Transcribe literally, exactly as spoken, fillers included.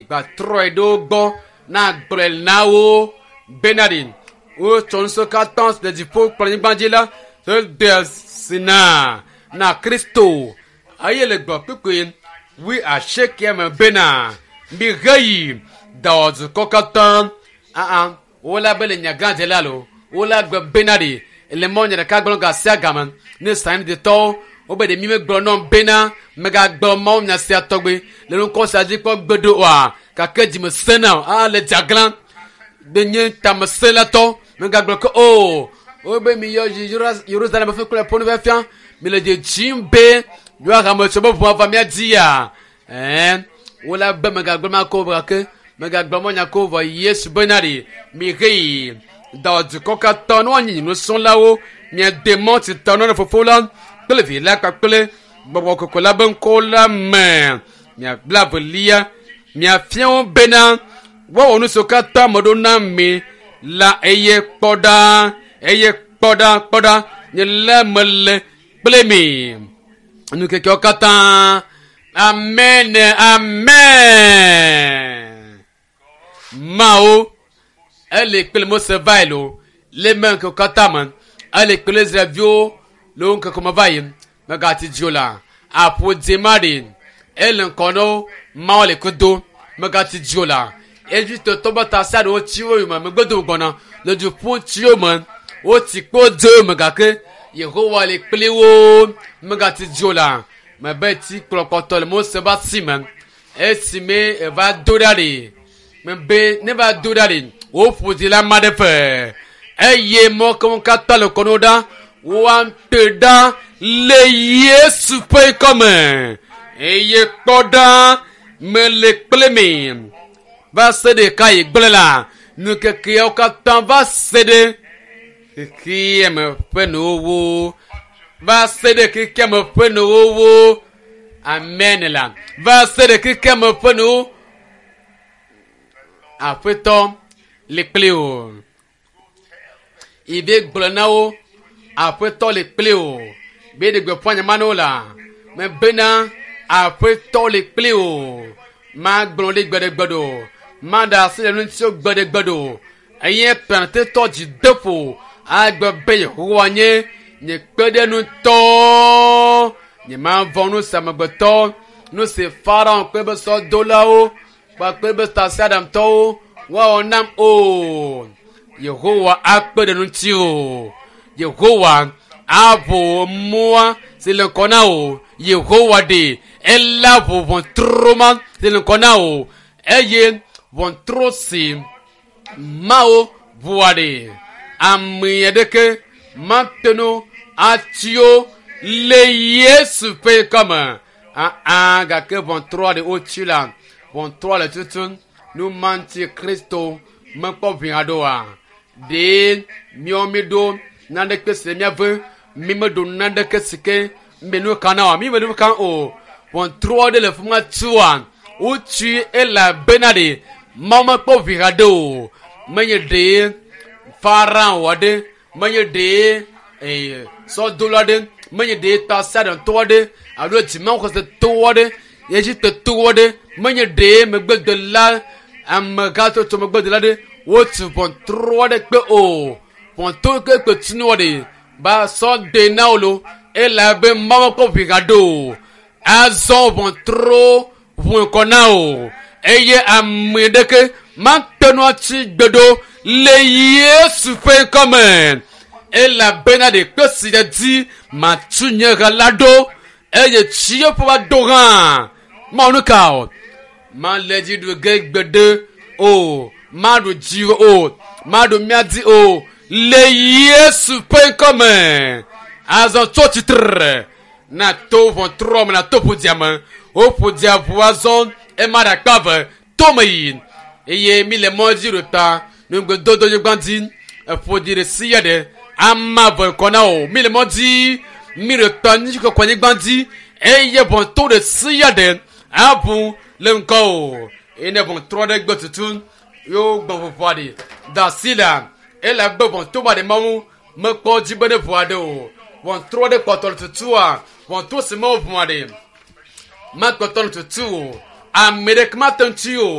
Gbatrɔe ɖe wo gbɔ na gblɔe na wo bena ɖi wotsɔ nusiwo katã le dziƒo kple anyigba dzi la de si na na Kristo eye le gblɔ kpukpui wui asiekea me bena miheyi dawɔ dukɔ katã aa wola be le nya gã dze la lo wola gbe bena ɖi le mɔ nye ɖeka gblɔ ga sia game ne sanidetɔwo wobe ɖe mi megblɔ nɔm bena megagblɔ mawu nya sia tɔgbe le nukɔ sia dzi kpɔ gbe ɖo oa gake dzime sena aa le dzaglã be nye tameselatɔ megagblɔ ke o wobe mi yɔ yi Yerusalem ƒe kple ƒonu fia mi le dzedzim be yewoa hametsɔ be ʋua va mía dzia ɛɛ wola be megagblɔ ma ko gake megagblɔ mɔ nya ko vɔ Yesu bena ɖi mi heyi dɔ dukɔ katã ne woanyi nusrɔ̃lawo miade mɔ si tɔ ne fofo la kple vi la kpakple gbɔgbɔ kɔkɔe la be ŋkɔ la me miabla velia miafia wo bena woawɔ nu siwo katã me ɖo na mi la eye kpɔ ɖa eye kpɔ ɖa kpɔ ɖa nye le mele kple mi nukekewo katã amen amen mawo ele kple mose va yi lo le me ŋkeke katã me ele kple israelviwo le wo ŋkeke me va yi megati dzo la aƒo dze ma ɖi ele ŋkɔ na wo mawo le kudo megati dzo la Egiptetɔ be tasia ɖewo tsi wo yome megbe dome gbɔna le du ƒum tsi wo me wotsi kpo dze wo me gake Yehowa le kpli wo megati dzo la mebe tsi kplɔ kpɔtɔ le Mose be asi me esime eva do ɖa ɖi mebe ne va do ɖa ɖi woƒo dzi la ma ɖe fe eye mɔ kewo katã le kɔno ɖa woate ɖa le Yesu ƒe ŋkɔme eye kpɔ ɖa mele kple mi va se ɖe ka yi gblẽ la nukekeawo katã va se ɖe xexeame ƒe nuwuwu va se ɖe xexeame ƒe nuwuwu amen la va se ɖe xexeame ƒe nuwu aƒetɔ le kpli o ibe gblɔ na wo aƒetɔ le kpli o be ɖe gbeƒã nyama na wo la mebena aƒetɔ le kpli o magblɔ ɖi gbeɖegbe ɖo maɖe asi le ŋutiwo gbeɖegbe ɖo eye plantetɔ dzi de ƒo agbe be yehowa nye nye kpeɖenutɔ nye mavɔ nu si amegbetɔ nu si farao kple be sɔdolawo kpakple be tasiaɖamtɔwo woawɔ nam o yehowa akpe ɖe ŋuti o yehowa aʋu mɔa si le ŋkɔ na o yehowa ɖe ela ʋu ʋɔtru ma si le ŋkɔ na o eye ʋɔtru si mawo ʋua ɖe ame aɖeke mate ŋu atsi wo le Yesu ƒe ŋkɔme aa gake ʋɔtrua ɖe wotsi la ʋɔtrua le tutum nu ma ŋuti Kristo mekpɔ ʋi haɖe oa ɖe míawo mi ɖo naneke si le míave mi meɖo naneke si ke mi nu ka na oa mi me nu ka o ʋɔtrua ɖe le fi ma tua wotsi elabena ɖe Mawu mekpɔ ʋi haɖe o menye ɖe Farao aɖe menye ɖe ee sɔdola aɖe menye ɖe tasiaɖamtɔ aɖe alo dzimaxɔsetɔ aɖe Egiptetɔ aɖe menye ɖe megbedela amegãtsotso megbedela aɖe wotu ʋɔtru aɖe kpe o ʋɔtru ke kpe tunu ɖe ba sɔ de na wo lo elabe Mawu mekpɔ ʋi haɖe o azɔ ʋɔtru ʋu ŋkɔ na o eye ame ɖeke mate ŋu atsi gbe ɖo le Yesu ƒe ŋkɔme elabena ɖe kpe si ɖe dzi matu nye ha la ɖo eye tsi eƒe va do hã mawu nu ka o male dzi ɖu ge gbeɖe o maɖu dzi o maɖu mía dzi o le Yesu ƒe ŋkɔme azɔ tso tsitre na to ʋɔtrɔ me na to ƒodzia me woƒo dzia ʋu azɔ ema ɖe akpa eve tome yi eye mi le mɔ dzi ɖo ta nugbedodo nyigba dzi eƒo dzi ɖe sia ɖe ama ve kɔ na o mi le mɔ dzi mi ɖe ta nyikɔkɔ nyigba dzi eye ʋɔtru ɖe sia ɖe aʋu le ŋkɔ o eye ne ʋɔtru ɖe gbe tutu yewo gbɔ ʋuʋua ɖi da asi la elabe ʋɔtru ma ɖe mawu mekpɔ dzi be ne ʋua ɖe o ʋɔtru ɖe kpɔtɔ le tutua ʋɔtru si me woʋua ɖe makpɔtɔ le tutu o ame ɖeke mate ŋuti o